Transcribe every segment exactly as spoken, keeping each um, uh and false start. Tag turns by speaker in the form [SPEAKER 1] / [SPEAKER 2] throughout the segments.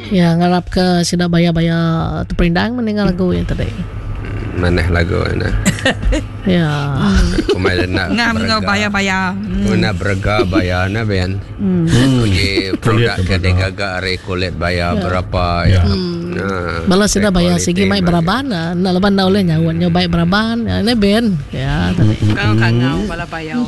[SPEAKER 1] Ya ngarap ke sida baya-baya terperindang mendengar lagu yang tadi.
[SPEAKER 2] Manah lagu nah.
[SPEAKER 1] Ya.
[SPEAKER 2] Kumai nak
[SPEAKER 3] Ngam ngau baya-baya.
[SPEAKER 2] Hmm. Nak berega baya na ben. Hmm. Uji produk ke digaga ari kulit baya ya. Berapa ya.
[SPEAKER 1] Hmm. Nah, bala sida baya sigi mai beraban na leban na oleh nyawa nyo baik beraban ne ben. Ya tadi.
[SPEAKER 4] Kangau bala baya.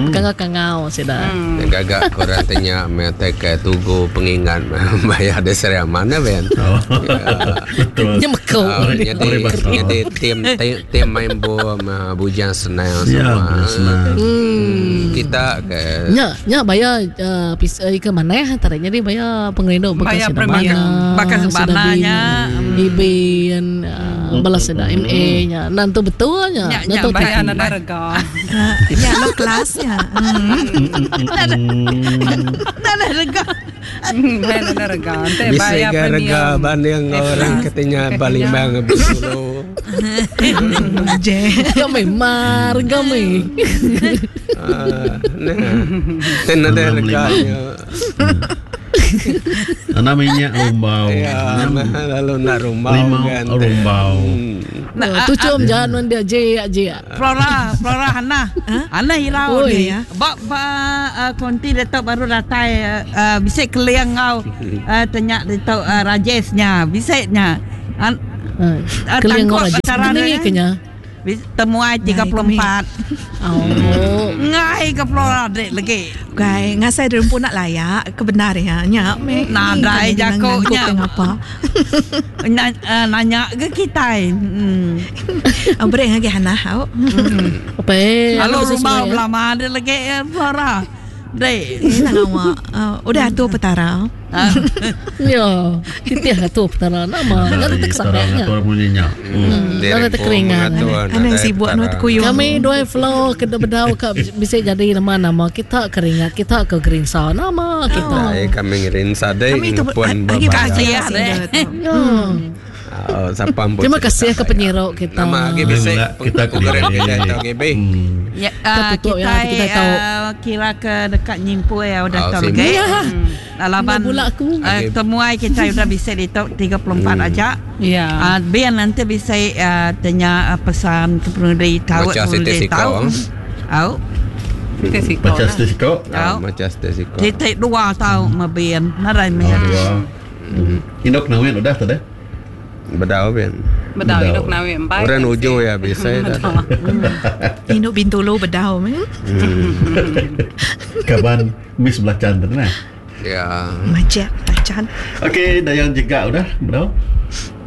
[SPEAKER 1] Kangau-kangau sida.
[SPEAKER 2] Digaga kurang tanya mete ke tugu pengingat baya de Seri Aman na ben.
[SPEAKER 5] Betul.
[SPEAKER 1] Nyemeko.
[SPEAKER 2] Jadi jadi tim tim main bom bujang senang semua.
[SPEAKER 1] Hmm.
[SPEAKER 2] Kita ke
[SPEAKER 1] nya nya baya uh, ke mana tadi jadi baya pengerindu
[SPEAKER 3] baya premium bakal sebananya
[SPEAKER 1] ibin balas ada M A nya nanti betulnya
[SPEAKER 4] nanti baya ada rega
[SPEAKER 6] ya lo kelasnya
[SPEAKER 3] ada rega
[SPEAKER 4] baya ada rega
[SPEAKER 2] bisa rega banding orang katanya Palembang Bengkulu
[SPEAKER 6] je
[SPEAKER 1] kami mar kami
[SPEAKER 2] nah ten ada reganya
[SPEAKER 5] ana minyak rumbau
[SPEAKER 2] ya, lalu nak rumbau kan
[SPEAKER 5] rumbau
[SPEAKER 1] nah tucum jangan dia je je
[SPEAKER 3] Flora Flora Hana Hana hirau dia ba ba konti datuk baru datai bisa keliang kau tanya datuk Rajesnya bisanya
[SPEAKER 1] keliang Rajes ni kenya
[SPEAKER 3] temuai tiga puluh empat.
[SPEAKER 1] Oh.
[SPEAKER 3] Ngai ke Flora dek lagi.
[SPEAKER 6] Gai ngasai derempun nak layak kebenar ya nya me.
[SPEAKER 3] Nadai jakonya
[SPEAKER 6] apa.
[SPEAKER 3] Nanya ke kita. Hmm.
[SPEAKER 6] Beri lagi Hana hau.
[SPEAKER 1] Apa?
[SPEAKER 3] Halo rumah lama ada lagi Flora. Dek.
[SPEAKER 6] Ini awak. Udah atur petara.
[SPEAKER 1] Ya, kita atur petara nama. Nanti terkesannya.
[SPEAKER 5] Atur bunyinya.
[SPEAKER 1] Nanti terkeringan.
[SPEAKER 6] Aneh sibuk nu terkuyung.
[SPEAKER 1] Kami dua flow ke bedau ke bisa jadi nama-nama kita keringat, kita ke gerinsa nama kita.
[SPEAKER 2] Kami gerinsa deh. Puan
[SPEAKER 3] kasih ya deh.
[SPEAKER 2] Oh,
[SPEAKER 1] terima kasih ke penyirok kita.
[SPEAKER 2] Nama G B C
[SPEAKER 5] kita
[SPEAKER 2] kita G B.
[SPEAKER 3] Ya, kita kita kira ke dekat nyimpu ya udah tahu lagi. Laban temuai kita udah bisa di tiga puluh empat aja.
[SPEAKER 4] Ya.
[SPEAKER 3] Biar nanti bisa tanya pesan ke penudi tahu penudi tahu. Au.
[SPEAKER 5] Baca stisiko.
[SPEAKER 2] Baca stisiko.
[SPEAKER 3] Titik dua tahu mabien. Narai meh.
[SPEAKER 5] Indok nawin udah tadi.
[SPEAKER 2] Bedau ben.
[SPEAKER 4] Bedau induk nawi empat.
[SPEAKER 2] Orang ujung ya bisa dah.
[SPEAKER 6] Induk Bintulu bedau meh.
[SPEAKER 5] Kaban miss belacan tu nah.
[SPEAKER 2] Ya.
[SPEAKER 6] Macam belacan.
[SPEAKER 5] Okey, dayang jegak udah bedau.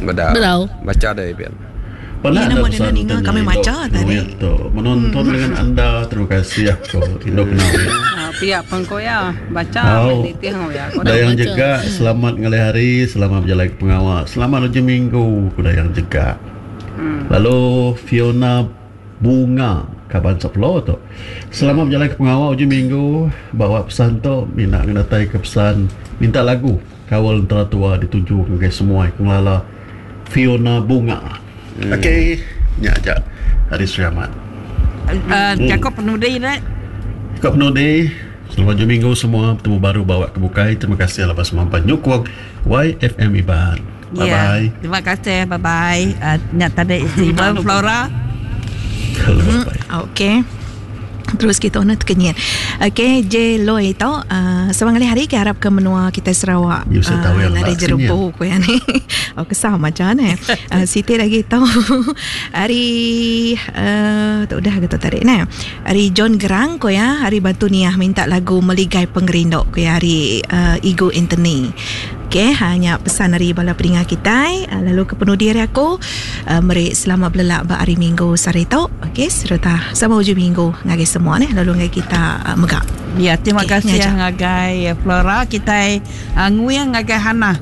[SPEAKER 2] Bedau.
[SPEAKER 1] Bedau.
[SPEAKER 2] Baca deh ben.
[SPEAKER 5] Pernah
[SPEAKER 6] ada
[SPEAKER 5] pesan
[SPEAKER 6] kami baca tadi.
[SPEAKER 5] Menonton dengan anda, terima kasih aku induk nawi.
[SPEAKER 4] Pihak pengkoya baca menitih ya.
[SPEAKER 5] Dayang jegak selamat ngalih hari, selamat berjalan ke pengawal, selamat hujung minggu ku dayang jegak.
[SPEAKER 4] Hmm.
[SPEAKER 5] Lalu Fiona Bunga kaban sepuluh tu. Selamat berjalan ke pengawal hujung minggu, bawa pesan tu minta ngedatai ke pesan minta lagu kawal antara tua dituju ke semua pengelala Fiona Bunga. Hmm. Okey, nya aja hari Selamat.
[SPEAKER 3] Uh, cakap penudi nek.
[SPEAKER 5] Cakap penudi. Selamat hujung minggu semua. Bertemu baru bawa ke bukai. Terima kasih lepas mampan nyukung Y F M Iban. Bye bye.
[SPEAKER 3] Yeah, terima kasih. Bye bye. Uh, nyak tadi Ibu Flora.
[SPEAKER 6] Hmm, okey. Terus kita nak terkenyit. Okey, J Loy tu uh, sebang kali hari ke harap ke menua kita Sarawak.
[SPEAKER 5] Uh,
[SPEAKER 6] ada jerubu ku yang ni. Oh kesah macam ni. Uh, Siti lagi tahu. Hari uh, tak udah kita tarik ni. Hari John Gerang ku ya, hari Batu Niah minta lagu Meligai Pengerindu ku ya hari uh, Igo Anthony. Okey, hanya pesan dari bala pendengar kita. Lalu ke penudi hari aku uh, meri selamat belelak ba hari Minggu sehari tu. Okey, serta sama hujung minggu ngagai semua ni lalu ngagai kita uh, megak.
[SPEAKER 3] Ya, terima
[SPEAKER 6] okay,
[SPEAKER 3] kasih ngagai Flora kita uh, nguyang ngagai Hana.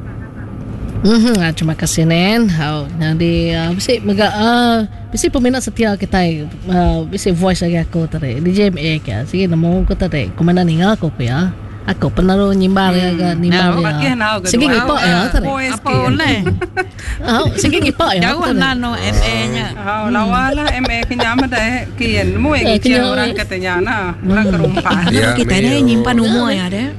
[SPEAKER 1] Mhm, terima kasih Nen. Oh, jadi uh, bisi megak uh, bisi peminat setia kita uh, bisi voice lagi aku tadi D J M A ke. Sige nemu aku tadi. Komena ninga aku ya. Aku penaruh nyimbar ya ke nimbar ya. Sigi ngipak ya tadi.
[SPEAKER 3] Apa oleh?
[SPEAKER 1] Oh, sigi ngipak ya.
[SPEAKER 3] Jauh nano M A nya.
[SPEAKER 4] Oh, lawa lah M A kenya mah dah kian mu yang orang katanya nah, orang kerumpa.
[SPEAKER 6] Kita ni nyimpan umur ya deh.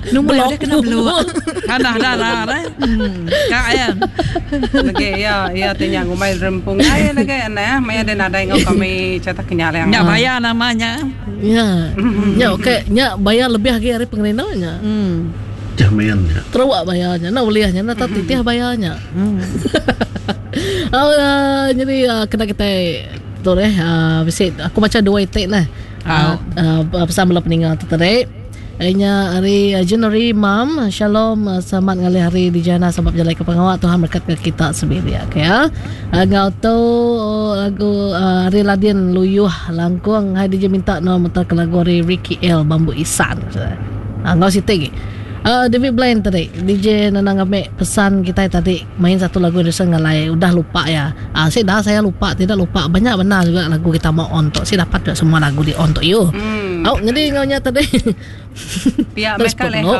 [SPEAKER 6] Nombor udah kena beluk.
[SPEAKER 3] Kan dah dah dah. Kak ya.
[SPEAKER 4] Lagi ya, ya tanya ngumai rempung ai lagi ana maya ada nadai ngau kami cetak kenyal yang.
[SPEAKER 3] Nya bayar namanya.
[SPEAKER 1] Ya. Nya okey, nya bayar lebih lagi hari pengerindanya.
[SPEAKER 3] Hmm.
[SPEAKER 5] Jamin nya.
[SPEAKER 1] Terawak bayarnya, nak bolehnya, nak tak titih bayarnya. Hmm. Oh, uh, jadi uh, kena kita tu eh uh, visit aku baca dua itik lah. Uh, uh, pesan bala peninggal tu tadi. Harinya hari uh, January Mam, Shalom, uh, selamat ngalih hari di jana sebab jalan ke pengawak Tuhan berkat ke kita sendiri ya. Okey ya. Uh, ngau tu lagu uh, hari Ladin Luyuh Langkung hai dia minta no mutar ke lagu hari Ricky L Bambu Isan. Uh, ngau sitik. Uh, David Blaine tadi D J Nanang Amik pesan kita tadi main satu lagu Indonesia ngalai udah lupa ya. Ah, saya dah saya lupa tidak lupa banyak benar juga lagu kita mau on tok. Saya dapat juga semua lagu di on tok you.
[SPEAKER 4] Hmm.
[SPEAKER 1] Oh, jadi ngaunya tadi.
[SPEAKER 4] Pihak mereka leho.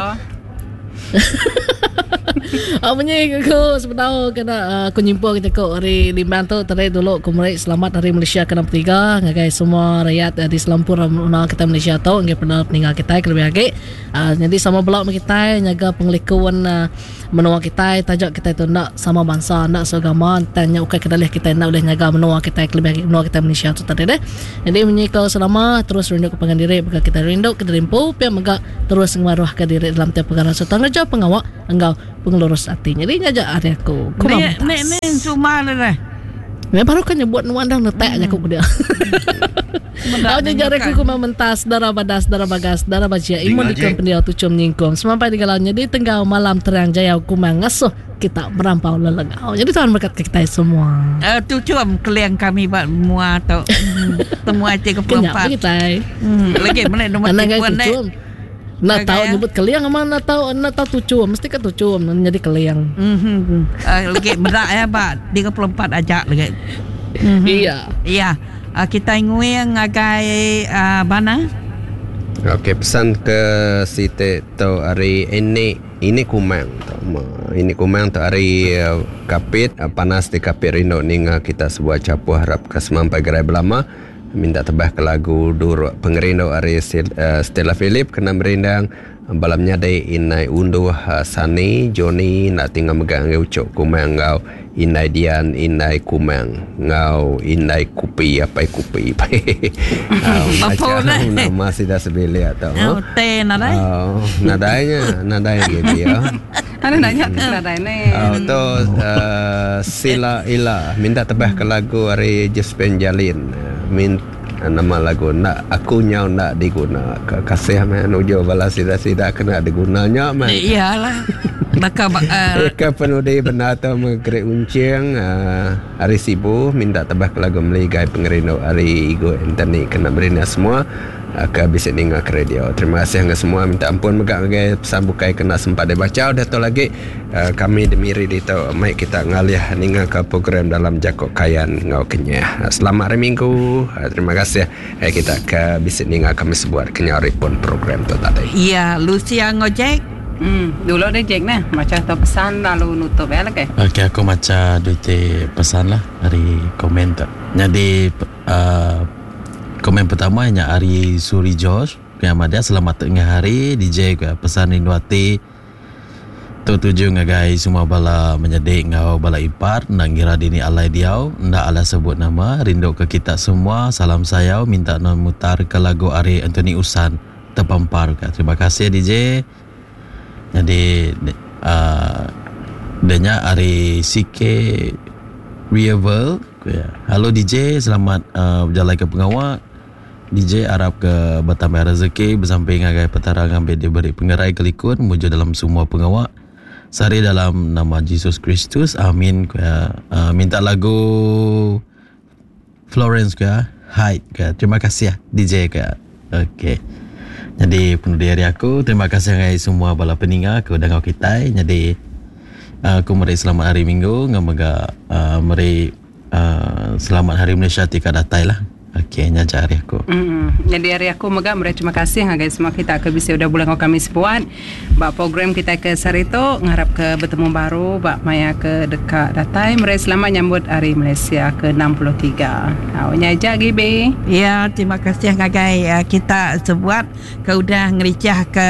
[SPEAKER 1] Oh, bunyi aku sebenarnya kena aku nyimpul kita kok hari Limbang tu tadi dulu aku meri selamat hari Malaysia ke enam puluh tiga ngagai semua rakyat di selampur menua kita Malaysia tu ngai pernah peninggal kita kelebih lagi. Uh, jadi sama belak kita nyaga pengelikuan uh, menua kita tajak kita tu nak sama bangsa nak seagama tanya ukai kedalih kita nak boleh nyaga menua kita kelebih lagi menua kita Malaysia tu tadi deh. Jadi bunyi kau selama terus rindu ke pangan diri maka kita rindu ke rimpu pia mega terus ngemaruh ke diri dalam tiap perkara serta ngeja pengawak engkau pengelurus hati. Jadi ngajak hari aku.
[SPEAKER 3] Ni ni ni cuma le.
[SPEAKER 1] Ni baru kan nyebut nuan dah letak aja aku dia. Aku jari aku kuma mentas darah badas darah bagas darah bajia imun dikam pendiau tucum nyingkum sampai digalaunya di tenggau malam terang jaya kuma ngasuh kita merampau lelengau. Jadi Tuhan berkat kita semua.
[SPEAKER 3] Eh uh, tucum keliang kami buat mua atau semua tiga puluh empat.
[SPEAKER 1] Kita.
[SPEAKER 3] Hmm, lagi mana nombor tiga ni.
[SPEAKER 1] Nak tahu nyebut keliang ama nak tahu nak tahu tucu mesti kan tucu menjadi keliang.
[SPEAKER 3] Mhm. Uh, lagi berat ya pak tiga puluh empat ajak lagi. Mm-hmm.
[SPEAKER 1] Iya.
[SPEAKER 3] Iya. Uh, kita nguing ngagai uh, bana.
[SPEAKER 2] Okey, pesan ke Siti tu hari ini ini kumang tu. Ini kumang tu hari uh, kapit uh, panas di kapit rindu ninga kita sebuah capuh harap ke semampai gerai belama. Minta tebah ke lagu Duruk Pengerindu hari Stella Philip kena merindang balamnya dai inai unduh Sani Johnny nak tinggal megang ucok kumang ngau inai Dian inai kumang ngau inai kupi apai kupi macam nama sida sebilik atau
[SPEAKER 3] oh teh nadai
[SPEAKER 2] oh nadainya nadai gitu ya.
[SPEAKER 4] Ada nanya ke nadai ni.
[SPEAKER 2] Oh tu Sila Ila minta tebah ke lagu hari Jespen Jalin min nama lagu nak aku nyau nak diguna kasih man ujo bala sida-sida kena digunanya man.
[SPEAKER 3] Iyalah. Maka uh,
[SPEAKER 2] ke penudi benar tu menggerik uncing uh, hari Sibu minta tebah ke lagu Meligai Pengerindu hari Igo Anthony kena berina semua uh, ke bisik ninga ke radio. Terima kasih dengan semua minta ampun megak ngagai pesan bukai kena sempat dibaca udah tu lagi uh, kami demiri di tu mai kita ngalih ninga ke program dalam Jakok Kayan ngau kenyah. Selamat hari Minggu. Uh, terima kasih eh, kita ke bisik ninga kami sebuat kenyah pun program tu tadi.
[SPEAKER 3] Ya, Lucia ngojek.
[SPEAKER 4] Hmm, dulu dia Jack nah, macam tu pesan lalu nutup ya lagi.
[SPEAKER 7] Okey, aku baca duit pesan lah dari komen tu. Jadi uh, komen pertama nya Ari Suri Josh, yang ada selamat tengah hari D J ke pesan rinduati tu tuju ngagai semua bala menyedik ngau bala ipar nak ngira dini alai diau ndak ala sebut nama rindu ke kita semua salam sayau minta non mutar ke lagu Ari Anthony Usan terpampar ke. Terima kasih D J. Jadi uh, denya Ari C K Rievel. Halo D J, selamat uh, berjalan ke pengawak. D J harap ke bertambah rezeki bersamping ngagai petara ngambil diberi pengerai kelikun muju dalam semua pengawak. Sari dalam nama Jesus Kristus. Amin. Uh, minta lagu Florence ke Hyde ke. Terima kasih ya D J ke. Okey. Jadi penuh dari aku, terima kasih kepada semua bala peninga ke dangau kita. Jadi aku meri selamat hari Minggu, ngamoga uh, meri uh, selamat hari Malaysia tika datai lah. Okey nya aja ari aku.
[SPEAKER 4] Mm. Jadi hari aku mega meri terima kasih ngagai semua kita ke bisi udah bulan kami sebuat ba program kita ke sehari tu ngarap ke bertemu baru ba maya ke dekat datai meri selamat nyambut hari Malaysia ke enam puluh tiga. Au nya aja Gibi.
[SPEAKER 3] Ya, terima kasih ngagai uh, kita sebuat ke udah ngericah ke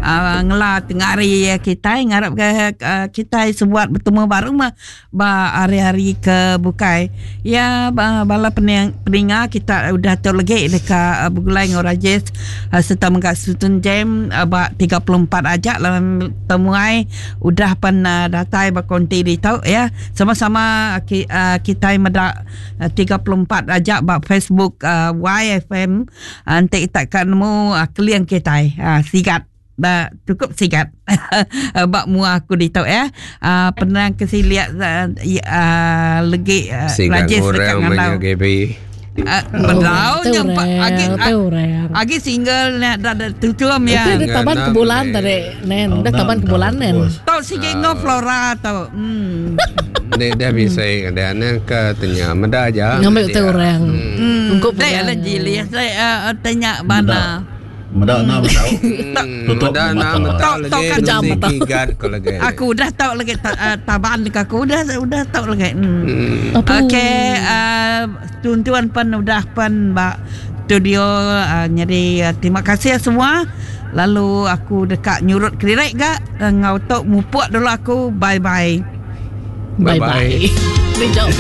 [SPEAKER 3] uh, ngela tengah hari kita ngarap ke uh, kita sebuat bertemu baru mah ba hari-hari ke bukai. Ya, ba, bala pening, peninga kita udah tu lagi dekat uh, bergulai dengan Rajesh uh, serta mengkat Sutun Jam uh, ba tiga puluh empat ajak dalam temuai udah pen uh, datai berkonti di tau ya. Sama-sama uh, ki, uh, kita medak uh, tiga puluh empat ajak ba Facebook uh, Y F M uh, nanti kita akan nemu uh, keliang kita uh, sigat. Ba, cukup sigat. Bak mua aku di tau ya. Uh, pernah kasi lihat uh, uh, lagi uh,
[SPEAKER 2] Rajesh dekat ngandau.
[SPEAKER 3] Uh, Berau nyampak agi agi single nak dah tutup ya.
[SPEAKER 1] Itu dah taban ke bulan tadi, nen. Dah taban ke bulan nen.
[SPEAKER 3] Tau sige ngo Flora tau. Hmm.
[SPEAKER 2] Dia dia bisa dia ne ke tanya meda aja.
[SPEAKER 1] Ngambil tu orang.
[SPEAKER 3] Ungkup dia lah jili saya tanya mana.
[SPEAKER 5] Meda nak tahu. Tutup
[SPEAKER 2] mata.
[SPEAKER 3] Tahu
[SPEAKER 1] kejam mata.
[SPEAKER 3] Aku dah tahu lagi taban ke aku dah udah tahu lagi. Hmm. Okey, uh, tuan-tuan pen udah pen ba studio uh, jadi uh, terima kasih semua. Lalu aku dekat nyurut kedirek gak ngau tok mupuk dulu aku. Bye bye.
[SPEAKER 1] Bye bye. Bye.